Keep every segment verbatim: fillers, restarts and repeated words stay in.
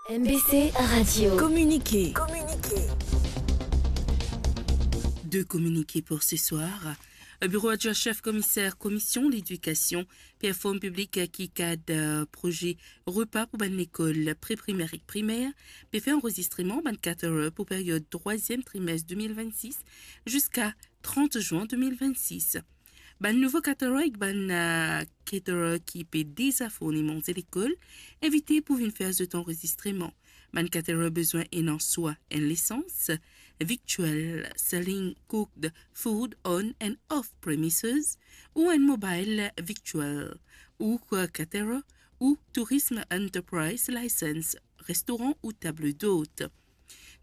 M B C Radio. Communiqué. De communiqués pour ce soir. Biro adwin sef komiser Komision Ledikasion pe inform piblik ki kad proze repa pou bann lekol pre-primer ek primer pe fer anrezistreman bann caterer pou period trwaziem trimes de mil vennsis ziska trant zin de mil vennsis. Bann nouvo caterer ek bann, eh, caterer ki pe deza fourni manze lekol, invite pou vinn fer zot anrezistreman. Bann caterer bizin ena swa enn lisans, victual selling cooked food on and off premises, ou enn mobile victual, ou caterer, ou tourism enterprise license, restoran ou table d'hôte.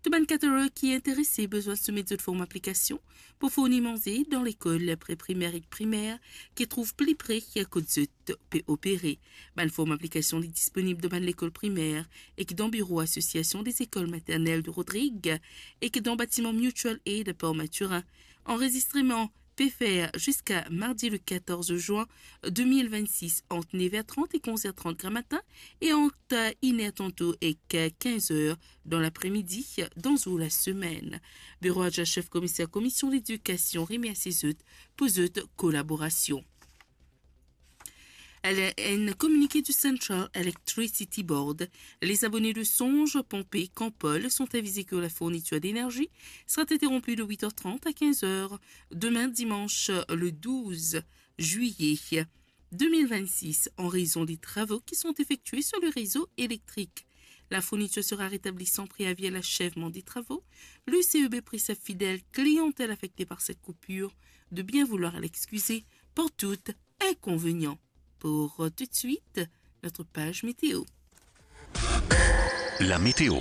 Tou bann caterer ki interese bizin soumet zot form aplikasion pou fourni manze dan lekol pre-primer ek primer ki trouv pli pre kot zot pe opere. Bann form aplikasion li disponib dan bann lekol primer ek dan biro Association des écoles maternelles de Rodrigues ek dan batiman Mutual Aid Port Mathurin. Anrezistreman pe fer ziska mardi le quatorze juin de mil vennsis ant nev er trant ek onz er trant gramatin e ant inn er tanto ek kinz er dan lapremidi dan zour lasemenn. Biro adwin sef komiser Komision Ledikasion remersie zot pou zot kolaborasion. Enn kominike du Central Electricity Board, les abonnés de Songe, Pompée, Campol sont avisés que la fourniture d'énergie sera interrompue de huit heures trente à quinze heures demain dimanche le douze juillet deux mille vingt-six en raison des travaux qui sont effectués sur le réseau électrique. La fourniture sera rétablie sans préavis à l'achèvement des travaux. Le C E B prie sa fidèle clientèle affectée par cette coupure de bien vouloir l'excuser pour tout inconvénient. Pour tout de suite, notre page météo. La météo.